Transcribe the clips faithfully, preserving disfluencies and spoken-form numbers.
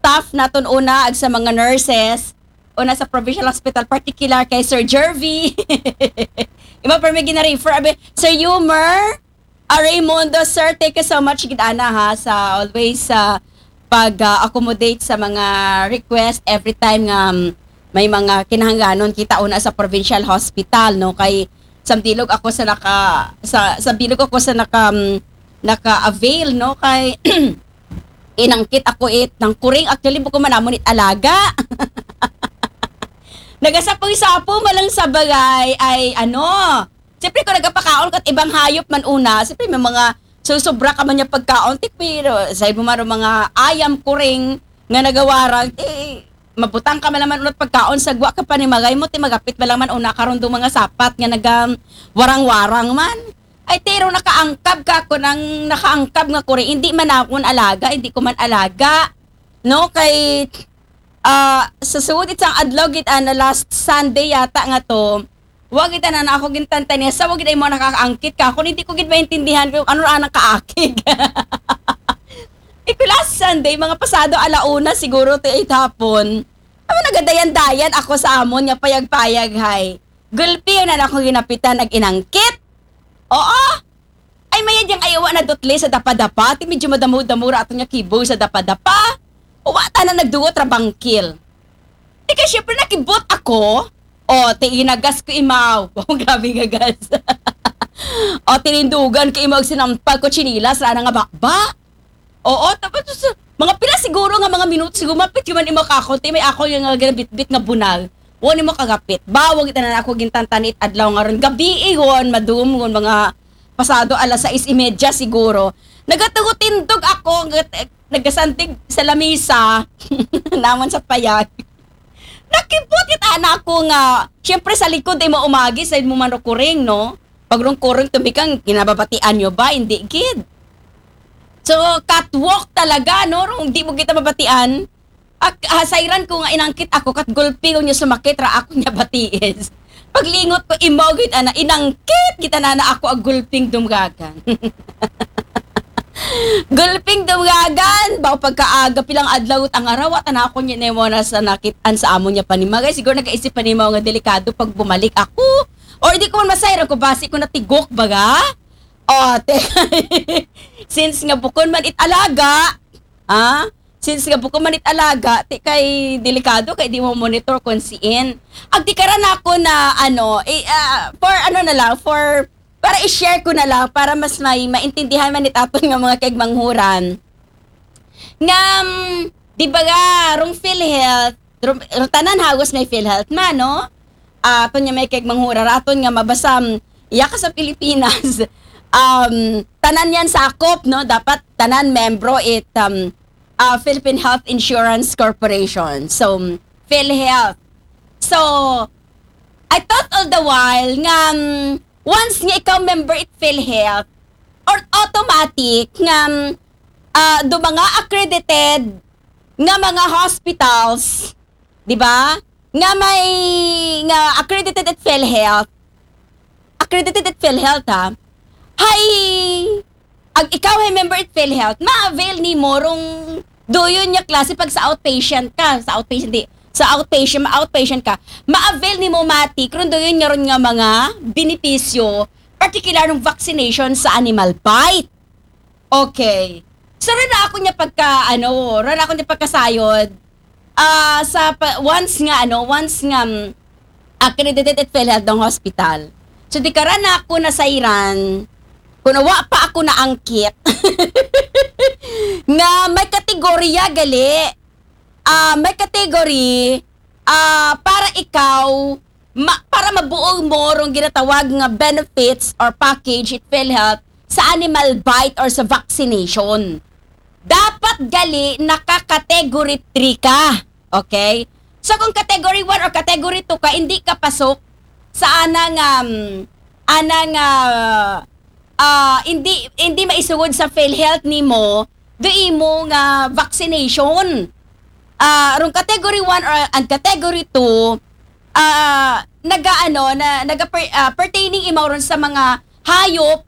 staff naton una, ag sa mga nurses, una sa provincial hospital, particular kay Sir Jervy. Iba pa may gina-refer, abi, Sir Yumer, ah, Raymundo, sir, thank you so much gid ana ha sa always sa pag-accommodate sa mga request every time nga, um, may mga kinahanglanon kita una sa provincial hospital, no, kay sa bilog ako sa naka sa, sa bilog ako sa naka um, naka-avail, no, kay inangkit ako it ng kuring, actually bukon man namon it alaga. Nagasapoy-sapo man lang sa bagay ay ano, siyempre kung nagapakaon kat ibang hayop man una, siyempre may mga susubra ka man niya pagkaon, ti, pero sa imo man mga ayam, kuring nga nagawarang, ti mabutang ka man naman unat pagkaon sa gwa ka panimagay mo, ti magapit man lang man una karon do mga sapat nga naga warang-warang man. Ay, tiro nakaangkab ka ko nang nakaangkab nga kuring, hindi man akon alaga, hindi ko man alaga. No, kay ah, sa suod it sang adlaw gid ana, last Sunday yata nga to, wa gid ana ako gintantaniya sa wa gid ay mo nakakaangkit ka. Kung hindi ko gid maintindihan kung ano ra nang kaakig. Iko last Sunday, mga pasado ala una siguro ti it hapon. Amo nagadayan-dayan ako sa amon nga payag-payag hay. Gulpi na ako ginapitan nag-inangkit. Oo. Ay, mayad yang ayawa na dutli sa dapa-dapa. Ti medyo madamo-damo ra aton nga kibo sa dapa-dapa. Uwa ta na nagdugot ra bangkil. Ti kay syempre nakibot ako. O, ti inagas ko imaw. Wow, grabe nga gas. O, tinindugan ko imaw, sinampag ko chinilas, rana nga bakba. Oo, tapos sa mga pila siguro nga mga minuto, siguro mapit yung man imo kakon, ti may ako yung nga ginabitbit nga bunal. Wala mo kagapit. Bawag ita na ako gintantani it adlaw nga ron. Gabi iyon, madum, ngon mga pasado alas sais y media siguro. Nagatugutindog ako, ngat- nagasandig sa lamisa, naman sa payag. Nakibot it anak ko nga, syempre sa likod ay mo umagi, sa mo man kuring, no? Pag rong kuring tumikang, kinababatian nyo ba? Hindi gid. So, catwalk talaga, no? Rong di mo kita mabatian. Ak, hasayran ko nga inangkit ako, kat gulpi ko niya sumakit ra ako niya batiis. Paglingot ko, imo gid ana, inangkit kita na na ako ag gulping dumgagan. Gulping dumgagan, baw pagkaaga, pilang adlaw at ang araw, at ana ako niya nemo na sa nakit-an sa amo niya panimagay. Siguro nakaisip panimaw nga delikado pag bumalik ako. Or di ko man masayran ko, basi ko natigok baga. O, te, since nga bukon man it alaga, ah, since nga bukon man it alaga, ti kay delikado kay di mo monitor kung siin. Ag di karan ako na, ano, i-, ah, for ano na lang, for, para i-share ko na lang, para mas may maintindihan man it aton nga mga kaigmanghuran. Nga, mm, di ba nga, rong PhilHealth, rong, rong tanan hagos may PhilHealth man, no? Ah, aton nga may kaigmanghuran, aton nga mabasa, mm, iya ka sa Pilipinas, um, tanan yan sakop, no? Dapat tanan membro it, um, ah, Philippine Health Insurance Corporation. So, mm, PhilHealth. So, I thought all the while nga, mm, once nga ikaw member it PhilHealth, or automatic nga, mm, ah, do mga accredited nga mga hospitals, di ba? Nga may, nga accredited at PhilHealth, accredited at PhilHealth, ha? Hay, ag ikaw hay member at PhilHealth, ma-avail ni mo rong duyon niya klase pag sa outpatient ka, sa outpatient, di, sa outpatient, ma-outpatient ka, ma-avail ni mo mati, kung duyon niya ron nga mga benepisyo, particular ng vaccination sa animal bite. Okay. So, rin ako niya pagka, ano, rin ako niya pagkasayod, ah, sa pa- once nga, ano, once nga, mm, accredited at PhilHealth ng hospital. So, di karan ako nasayran, kung wa pa ako naangkit, nga may kategorya gali, ah, may category, ah, para ikaw, ma- para mabuo mo rong ginatawag nga benefits or package it PhilHealth sa animal bite or sa vaccination. Dapat gali naka-category three ka. Okay? So kung category one or category two ka, hindi ka pasok sa ana nga, um, ana nga, ah, hindi, hindi maisugod sa PhilHealth nimo, do imo nga vaccination. Ah, rong category one or and category two, ah, naga, ano, na, naga per- ah, pertaining imaw ron sa mga hayop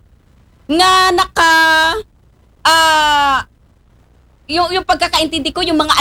nga naka, ah, yung, yung pagkakaintindi ko, yung mga